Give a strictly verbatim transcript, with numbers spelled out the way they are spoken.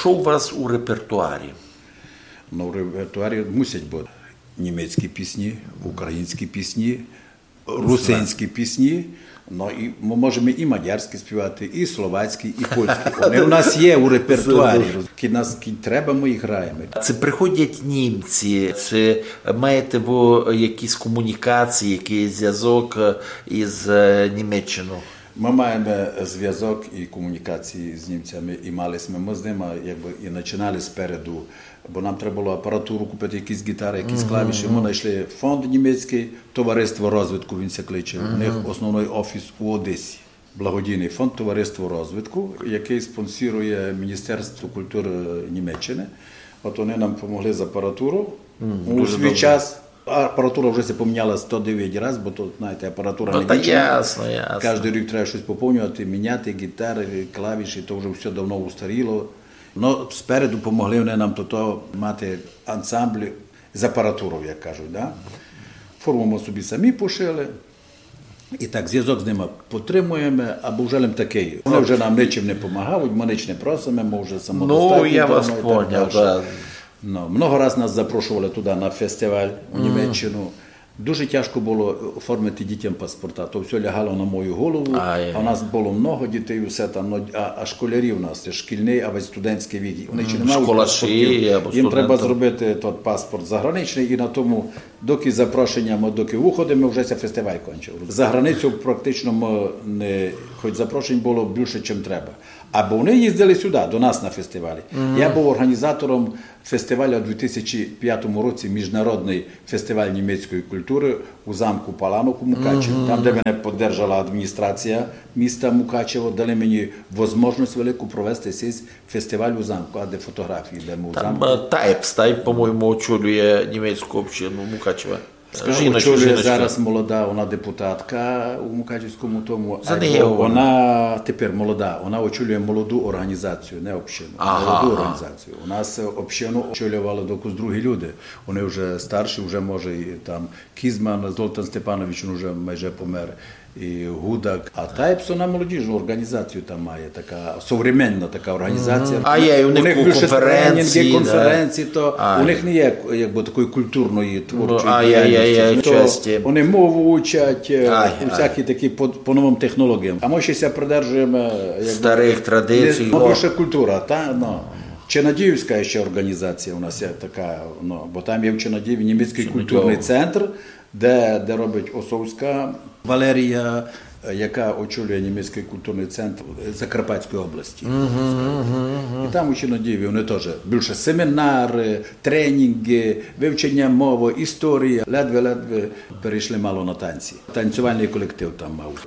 Што у вас у репертуарі? Ну, в репертуарі мусять быти німецькі пісні, українські пісні, русинські пісні. Ну, і мы можеме і мадярські співати, і словацькі, і польські. Они у нас є у репертуарі. Кідь нас, кідь треба, мы їх граєме. Ци приходять німці, ци маєте вы якісь комунікації, якыйсь звязок, е, із, е, Німеччинов? Мы маєме звязок і комунікації з німцями, і мали сьме мы з нима, якбы, і начинали спереду, бо нам треба было апаратуру купити, якісь гітары, якісь клавіші. Мы найшли фонд німецькый, Товариство розвитку він ся кличе. У них основный офіс у Одесі. Благодійный фонд Товариство розвитку, якый спонсорує Міністерство культуры Німеччины. От они нам помогли з апаратуров у свій час. А апаратура вже ся поміняла сто девять раз, бо то, знаєте, апаратура не вічна. Ну, та ясно, ясно. Каждый рік треба штось поповнювати, міняти, гітары, клавіші, то вже всьо давно устаріло. Но спереду помогли они нам тото мати ансамбль з апаратуров, як кажуть, да? Форму мы собі самі пошили. І так звязок з нима потримуєме, або вже лем такый. Они вже нам ничим не помагають, мы нич не просиме, мы вже самодостатні. Ну, я вас поняв, да. Ну, много раз нас запрошували туды на фестиваль у Німеччину. Дуже тяжко было оформити дітям паспорта, то всьо лягало на мою голову, а у нас было много дітей, усе там, ну, а, а школярі у нас, це шкільный, а весь студентськый вік, они ще не мають паспортів. Їм треба зробити тот паспорт заграничный, і на тому, доки запрошення, мы доки уходиме, вже ся фестиваль кончив. За границю практично мы не, хоч запрошень было більше, чим треба. Або они їздили сюды, до нас на фестивалі. Я быв організатором фестивалю у дві тисячі пятому році, міжнародный фестиваль німецької культуры у замку Паланок у Мукачеві. Там, де мене поддержала адміністрація міста Мукачево, дали мені возможность велику провести сей фестиваль у замку, а де фотографії, де мы у замку. Там, е, Тайпс, Тайп, по-моєму, очолює німецьку общину Мукачева. Жіночка, очолює зараз молода, она депутатка у Мукачевському тому. Она тепер молода, она очолює молоду організацію, не общину, молоду організацію. У нас, е, общину очолювали докус другі люди. Они вже старші, вже, може, і там Кізман, Золтан Степанович, він вже майже помер, і Гудак. А Тайпс, она молодіжну організацію там має, така современна така організація. А є, у них більше конференції, то у них не є, якбы, такої культурної, творчої діяльності. Они мову учать, е, усякі такі по, по новым технологіям. А мы ще ся придержуєме, е, якбы, старых традицій. Ну, більше культура, та, ну. Чинадіївська ще організація у нас є така, ну, бо там є в Чинадіїві німецькый культурный центр, де, де робить Осовська Валерія, е, яка очолює німецькый культурный центр, е, Закарпатської області. І там у Чинадіїві они тоже більше семінары, тренінґы, вивчення мовы, історія. Ледве-ледве перейшли мало на танці. Танцювальный колектив там мав.